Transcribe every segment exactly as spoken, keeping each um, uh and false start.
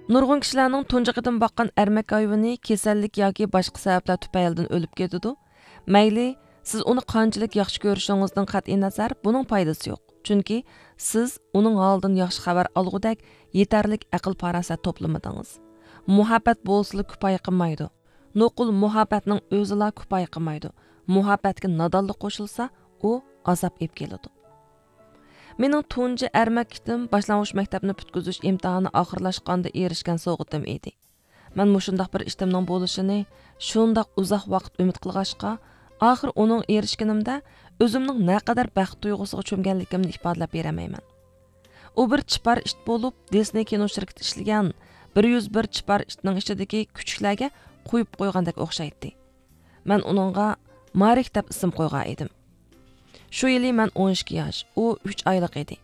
نۇرغۇن كىشىلەرنىڭ تۇنجى قېتىم باققان ئەرمەك ھايۋىنى كېسەللىك ياكى باشقا سەۋەبلەر تۈپەيلىدىن ئۆلۈپ كېتىدۇ. مەيلى، سىز ئۇنى قانچىلىك ياخشى كۆرۈشىڭىزدىن قەتئىينەزەر، بۇنىڭ پايدىسى يوق. چۈنكى سىز ئۇنىڭ ھالىدىن ياخشى خەۋەر ئالغۇدەك يېتەرلىك ئەقىل-پاراسەت توپلىمىدىڭىز. مۇھەببەت بولسىلا كۇپايە قىلمايدۇ. نوقۇل مۇھەببەتنىڭ ئۆزىلا كۇپايە قىلمايدۇ. مۇھەببەتكە نادانلىق قوشۇلسا، ئۇ ئازاب ئېلىپ كېلىدۇ. مېنىڭ تۇنجى ئەرمەك ئىتىم باشلانغۇچ مەكتەپنى پۈتكۈزۈش ئىمتىھانى ئاخىرلاشقاندا ئېرىشكەن سوۋغىتىم ئىدى. مەن مۇشۇنداق بىر ئىتىمنىڭ بولۇشىنى شۇنداق ئۇزاق ۋاقىت ئۈمىد قىلغاچقا، ئاخىر ئۇنىڭغا ئېرىشكىنىمدە ئۆزۈمنىڭ نەقەدەر بەخت تۇيغۇسىغا چۆمگەنلىكىمنى ئىپادىلەپ بېرەلمەيمەن. ئۇ بىر چىپار ئىت بولۇپ، دىسنېي كىنو شىركىتى ئىشلىگەن بىر يۈز بىر چىپار ئىتنىڭ ئىچىدىكى كۈچۈكلەرگە قويۇپ قويغاندەك ئوخشايتتى. مەن ئۇنىڭغا مارك دەپ ئىسىم قويغان ئىدىم. شۇ يىلى مەن ئون ئىككى ياش، ئۇ ئۈچ ئايلىق ئىدى.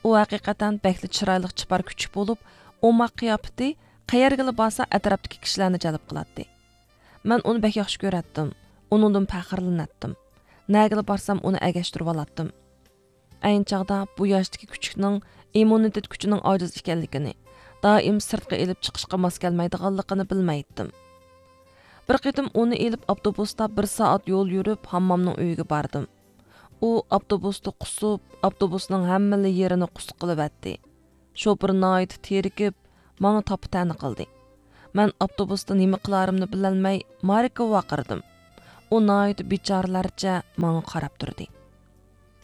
ئۇ ھەقىقەتەن بەكلا چىرايلىق چىپار كۈچۈك بولۇپ، ئوماق قىياپىتى قەيەرگىلا بارسا ئەتراپتىكى كىشىلەرنى جەلپ قىلاتتى. مەن ئۇنى بەك ياخشى كۆرەتتىم، ئۇنىڭدىن پەخىرلىنەتتىم. نەگىلا بارسام ئۇنى ئەگەشتۈرۈۋالاتتىم. ئەينى چاغدا بۇ ياشتىكى كۈچۈكنىڭ ئىممۇنىتېت كۈچىنىڭ ئاجىز ئىكەنلىكىنى، دائىم سىرتقا ئېلىپ چىقىشقا ماس كەلمەيدىغانلىقىنى بىلمەيتتىم. بىر قېتىم ئۇنى ئېلىپ ئاپتوبۇستا بىر سائەت يول يۈرۈپ، ھاممامنىڭ ئۆيىگە باردىم. ئۇ ئاپتوبۇستا قۇسۇپ، ئاپتوبۇسنىڭ ھەممىلا يېرىنى قۇس قىلىۋەتتى. شوپۇر ناھايىتى تېرىكىپ، ماڭا تاپا-تەنە قىلدى. مەن ئاپتوبۇستا نېمە قىلارىمنى بىلەلمەي، ماركقا ۋارقىرىدىم. ئۇ ناھايىتى بىچارىلەرچە ماڭا قاراپ تۇردى.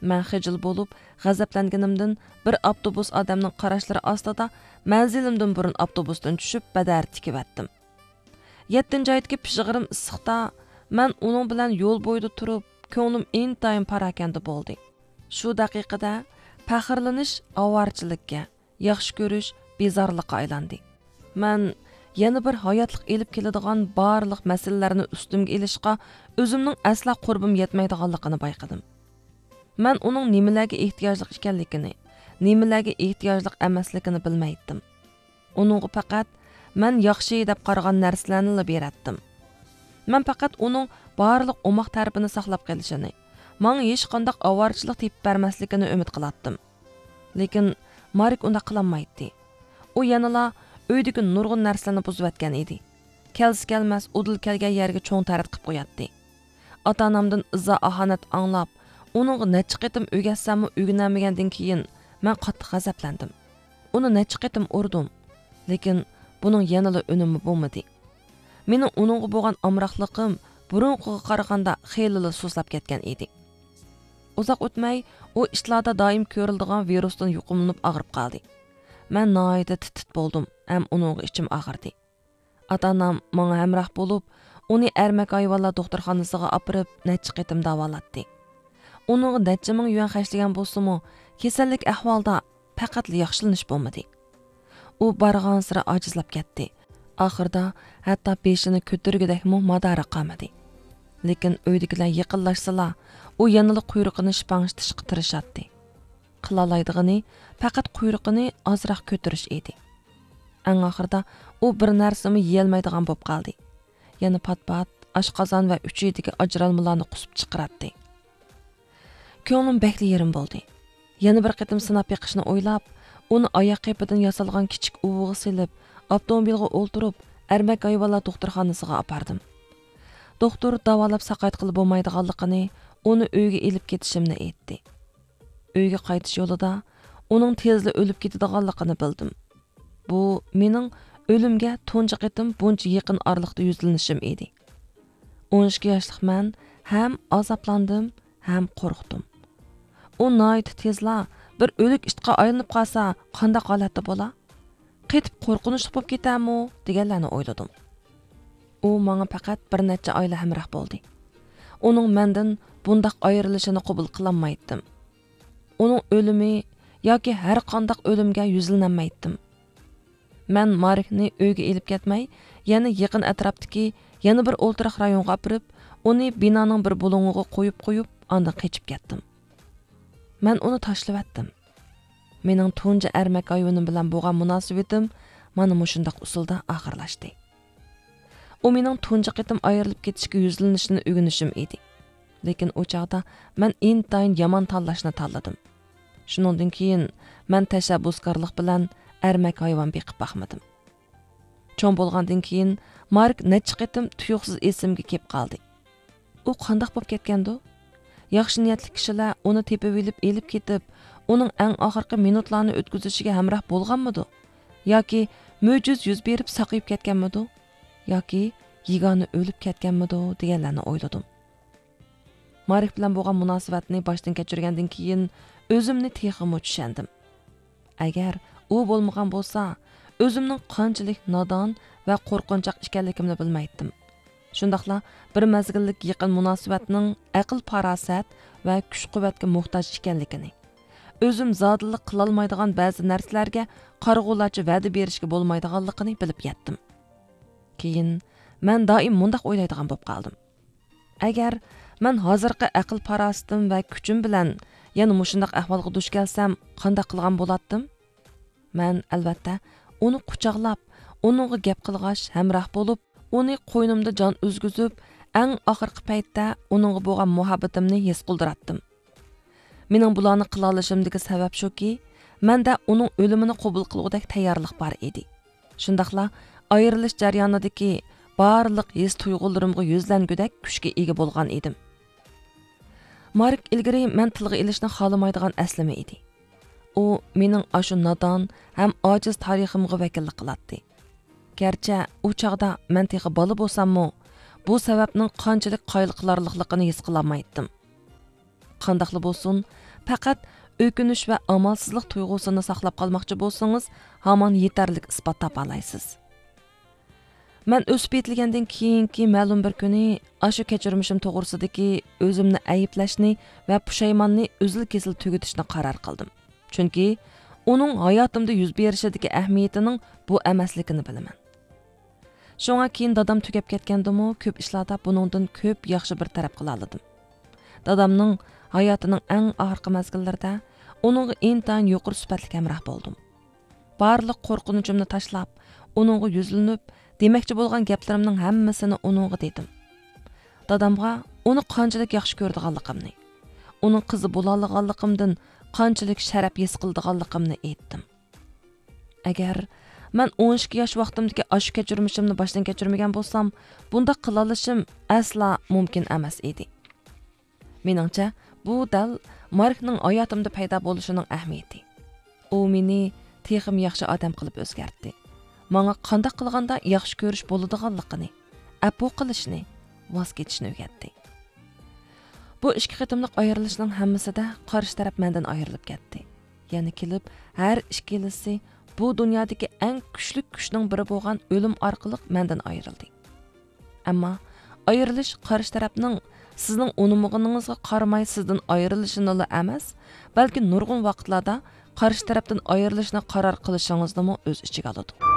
مەن خىجىل بولۇپ، غەزەپلەنگىنىمدىن بىر ئاپتوبۇس ئادەمنىڭ قاراشلىرى ئاستىدا مەنزىلىمدىن بۇرۇن ئاپتوبۇستىن چۈشۈپ، بەدەر تىكىۋەتتىم. يەتتىنچى ئايدىكى پىژغىرىم ئىسسىقتا مەن ئۇنىڭ بىلەن يول بويىدا تۇرۇپ، كۆڭلۈم ئىنتايىن پاراكەندە بولدى. شۇ دەقىقىدە پەخىرلىنىش ئاۋارىچىلىككە، ياخشى كۆرۈش بىزارلىققا ئايلاندى. مەن يەنە بىر ھاياتلىق ئېلىپ كېلىدىغان بارلىق مەسىلىلەرنى ئۈستۈمگە ئېلىشقا ئۆزۈمنىڭ ئەسلا قۇربۇم يەتمەيدىغانلىقىنى بايقىدىم. مەن ئۇنىڭ نېمىلەرگە ئېھتىياجلىق ئىكەنلىكىنى، نېمىلەرگە ئېھتىياجلىق ئەمەسلىكىنى بىلمەيتتىم. ئۇنىڭغا پەقەت مەن ياخشى دەپ قارىغان نەرسىلەرنىلا بېرەتتىم. مەن پەقەت ئۇنىڭ بارلىق ئوماق تەرىپىنى ساقلاپ قېلىشىنى، ماڭا ھېچقانداق ئاۋارىچىلىك تېپىپ بەرمەسلىكىنى ئۈمىد قىلاتتىم. لېكىن مارك ئۇنداق قىلالمايتتى. ئۇ يەنىلا ئۆيدىكى نۇرغۇن نەرسىلەرنى بۇزۇۋەتكەن ئىدى. كەلسە كەلمەس ئۇدۇل كەلگەن يەرگە چوڭ تەرەت قىلىپ قوياتتى. ئاتا-ئانامدىن ئىزا-ئاھانەت ئاڭلاپ، ئۇنىڭغا نەچچە قېتىم ئۆگەتسەممۇ ئۆگىنەلمىگەندىن كېيىن، مەن قاتتىق غەزەپلەندىم. ئۇنى نەچچە قېتىم ئۇردۇم. لېكىن بۇنىڭ يەنىلا ئۈنۈمى بولمىدى. مېنىڭ ئۇنىڭغا بولغان ئامراقلىقىم بۇرۇنقىغا قارىغاندا خېلىلا سۇسلاپ كەتكەن ئىدى. ئۇزاق ئۆتمەي، ئۇ ئىتلاردا دائىم كۆرۈلىدىغان ۋىرۇستىن يۇقۇملىنىپ ئاغرىپ قالدى. مەن ناھايىتى تىت-تىت بولدۇم ھەم ئۇنىڭغا ئىچىم ئاغرىدى. ئاتا-ئانام ماڭا ھەمراھ بولۇپ، ئۇنى ئەرمەك ھايۋانلار دوختۇرخانىسىغا ئاپىرىپ، نەچچە قېتىم داۋالاتتى. ئۇنىڭغا نەچچە مىڭ يۈەن خەجلىگەن بولسىمۇ، كېسەللىك ئەھۋالدا پەقەتلا ياخشىلىنىش بولمىدى. ئۇ بارغانسېرى ئاجىزلاپ كەتتى. ئاخىرىدا ھەتتا بېشىنى كۆتۈرگۈدەكمۇ مادارى قالمىدى. لېكىن ئۆيدىكىلەر يېقىنلاشسىلا، ئۇ يەنىلا قۇيرۇقىنى شىپاڭشىتىشقا تىرىشاتتى. قىلالايدىغىنى پەقەت قۇيرۇقىنى ئازراق كۆتۈرۈش ئىدى. ئەڭ ئاخىرىدا ئۇ بىر نەرسىمۇ يېيەلمەيدىغان بولۇپ قالدى. يەنە پات-پات ئاشقازان ۋە ئۈچىيىدىكى ئاجرالمىلارنى قۇسۇپ چىقىراتتى. كۆڭلۈم بەكلا يېرىم بولدى. يەنە بىر قېتىم سىناپ بېقىشنى ئويلاپ، ئۇنى ئاياق قېپىدىن ياسالغان كىچىك ئۇۋىغا سېلىپ، ئاپتوموبىلغا ئولتۇرۇپ، ئەرمەك ھايۋانلار دوختۇرخانىسىغا ئاپاردىم. دوختۇر داۋالاپ ساقايتقىلى بولمايدىغانلىقىنى، ئۇنى ئۆيگە ئېلىپ كېتىشىمنى ئېيتتى. ئۆيگە قايتىش يولىدا ئۇنىڭ تېزلا ئۆلۈپ كېتىدىغانلىقىنى بىلدىم. بۇ مېنىڭ ئۆلۈمگە تۇنجى قېتىم بۇنچە يېقىن ئارىلىقتا يۈزلىنىشىم ئىدى. ئون ئىككى ياشلىق مەن ھەم ئازابلاندىم، ھەم قورقتۇم. ئۇ ناھايىتى تېزلا بىر ئۆلۈك ئىتقا ئايلىنىپ قالسا، قانداق ھالەتتە بولا؟ قېتىپ قورقۇنچلۇق بولۇپ كېتەرمۇ؟ دېگەنلەرنى ئويلىدىم. ئۇ ماڭا پەقەت بىر نەچچە ئايلا ھەمراھ بولدى. ئۇنىڭ مەندىن بۇنداق ئايرىلىشىنى قوبۇل قىلالمايتتىم. ئۇنىڭ ئۆلۈمى ياكى ھەر قانداق ئۆلۈمگە يۈزلىنەلمەيتتىم. مەن ماركنى ئۆيگە ئېلىپ كەتمەي، يەنە يېقىن ئەتراپتىكى يەنە بىر ئولتۇراق رايونغا ئاپىرىپ، ئۇنى بىنانىڭ بىر بۇلۇڭىغا قويۇپ قويۇپ، ئاندىن قېچىپ كەتتىم. مەن ئۇنى تاشلىۋەتتىم. مېنىڭ تۇنجى ئەرمەك ھايۋىنىم بىلەن بولغان مۇناسىۋىتىم مانا مۇشۇنداق ئۇسۇلدا ئاخىرلاشتى. ئۇ مېنىڭ تۇنجى قېتىم ئايرىلىپ كېتىشكە يۈزلىنىشنى ئۆگىنىشىم ئىدى. لېكىن ئۇ چاغدا مەن ئىنتايىن يامان تاللاشنى تاللىدىم. شۇنىڭدىن كېيىن مەن تەشەببۇسكارلىق بىلەن ئەرمەك ھايۋان بېقىپ باقمىدىم. چوڭ بولغاندىن كېيىن مارك نەچچە قېتىم تۇيۇقسىز ئېسىمگە كېلىپ قالدى. ئۇ قانداق بولۇپ كەتكەندۇ؟ ياخشى نىيەتلىك كىشىلەر ئۇنى تېپىۋېلىپ ئېلىپ كېتىپ، ئۇنىڭ ئەڭ ئاخىرقى مىنۇتلارنى ئۆتكۈزۈشىگە ھەمراھ بولغانمىدۇ؟ ياكى مۆجىزە يۈز بېرىپ ساقىيىپ كەتكەنمىدۇ؟ ياكى يېگانە ئۆلۈپ كەتكەنمىدۇ دېگەنلەرنى ئويلىدىم. مارك بىلەن بولغان مۇناسىۋەتنى باشتىن كەچۈرگەندىن كېيىن ئۆزۈمنى تېخىمۇ چۈشەندىم. ئەگەر ئۇ بولمىغان بولسا، ئۆزۈمنىڭ قانچىلىك نادان ۋە قورقۇنچاق ئىكەنلىكىمنى بىلمەيتتىم. شۇنداقلا بىر مەزگىللىك يېقىن مۇناسىۋەتنىڭ ئەقىل-پاراسەت ۋە كۈچ-قۇۋۋەتكە موھتاج ئىكەنلىكىنى، ئۆزۈم زادىلا قىلالمايدىغان بەزى نەرسىلەرگە قارىغۇلارچە ۋەدە بېرىشكە بولمايدىغانلىقىنى بىلىپ يەتتىم. كېيىن مەن دائىم مۇنداق ئويلايدىغان بولۇپ قالدىم. ئەگەر مەن ھازىرقى ئەقىل-پاراسىتىم ۋە كۈچۈم بىلەن يەنە مۇشۇنداق ئەھۋالغا دۇچ كەلسەم، قانداق قىلغان بولاتتىم؟ مەن، ئەلۋەتتە، ئۇنى قۇچاقلاپ، ئۇنىڭغا گەپ قىلغاچ، ھەمراھ بولۇپ، ئۇنى قوينۇمدا جان ئۈزگۈزۈپ، ئەڭ ئاخىرقى پەيتتە ئۇنىڭغا بولغان مۇھەببىتىمنى ھېس قىلدۇراتتىم. مېنىڭ بۇلارنى قىلالىشىمدىكى سەۋەب شۇكى، مەندە ئۇنىڭ ئۆلۈمىنى قوبۇل قىلغۇدەك تەييارلىق بار ئىدى. شۇنداقلا ئايرىلىش جەريانىدىكى بارلىق ھېس-تۇيغۇلىرىمغا يۈزلەنگۈدەك كۈچكە ئىگە بولغان ئىدىم. مارك ئىلگىرى مەن تىلغا ئېلىشنى خالىمايدىغان ئەسلىمە ئىدى. ئۇ مېنىڭ ئاشۇ نادان ھەم ئاجىز تارىخىمغا ۋەكىللىك قىلاتتى. گەرچە ئۇ چاغدا مەن تېخى بالا بولساممۇ، بۇ سەۋەبنىڭ قانچىلىك قايىل قىلارلىقلىقىنى ھېس قىلالمايتتىم. قانداقلا بولسۇن، پەقەت ئۆكۈنۈش ۋە ئامالسىزلىق تۇيغۇسىنى ساقلاپ قالماقچى بولسىڭىز، ھامان يېتەرلىك ئىسپات تاپالايسىز. مەن ئۆسۈپ يېتىلگەندىن كېيىنكى مەلۇم بىر كۈنى ئاشۇ كەچۈرمىشىم توغرىسىدىكى ئۆزۈمنى ئەيىبلەشنى ۋە پۇشايماننى ئۈزۈل-كېسىل تۈگىتىشنى قارار قىلدىم. چۈنكى ئۇنىڭ ھاياتىمدا يۈز بېرىشىدىكى ئەھمىيىتىنىڭ بۇ ئەمەسلىكىنى بىلىمەن. شۇڭا كېيىن دادام تۈگەپ كەتكەندىمۇ، كۆپ ئىشلاردا بۇنىڭدىن كۆپ ياخشى بىر تەرەپ قىلالىدىم. دادامنىڭ ھاياتىنىڭ ئەڭ ئاخىرقى مەزگىللىرىدە ئۇنىڭغا ئىنتايىن يۇقىرى سۈپەتلىك ھەمراھ بولدۇم. بارلىق قورقۇنچۇمنى تاشلاپ، ئۇنىڭغا يۈزلىنىپ، دېمەكچى بولغان گەپلىرىمنىڭ ھەممىسىنى ئۇنىڭغا دېدىم. دادامغا ئۇنى قانچىلىك ياخشى كۆرىدىغانلىقىمنى، ئۇنىڭ قىزى بولالىغانلىقىمدىن قانچىلىك شەرەپ ھېس قىلىدىغانلىقىمنى ئېيتتىم. ئەگەر مەن ئون ئىككى ياش ۋاقتىمدىكى ئاشۇ كەچۈرمىشىمنى باشتىن كەچۈرمىگەن بولسام، بۇنداق قىلالىشىم ئەسلا مۇمكىن ئەمەس ئىدى. مېنىڭچە، بۇ دەل ماركنىڭ ھاياتىمدا پەيدا بولۇشىنىڭ ئەھمىيىتى. ئۇ مېنى تېخىمۇ ياخشى ئادەم قىلىپ ئۆزگەرتتى. ماڭا قانداق قىلغاندا ياخشى كۆرۈش بولىدىغانلىقىنى، ئەپۇ قىلىشنى، ۋاز كېچىشنى ئۆگەتتى. بۇ ئىككى قېتىملىق ئايرىلىشنىڭ ھەممىسىدە قارشى تەرەپ مەندىن ئايرىلىپ كەتتى. يەنە كېلىپ، ھەر ئىككىلىسى بۇ دۇنيادىكى ئەڭ كۈچلۈك كۈچنىڭ بىرى بولغان ئۆلۈم ئارقىلىق مەندىن ئايرىلدى. ئەمما ئايرىلىش قارشى تەرەپنىڭ سىزنىڭ ئۇنىمىغىنىڭىزغا قارىماي سىزدىن ئايرىلىشىنىلا ئەمەس، بەلكى نۇرغۇن ۋاقىتلاردا قارشى تەرەپتىن ئايرىلىشنى قارار قىلىشىڭىزنىمۇ ئۆز ئىچىگە ئالىدۇ.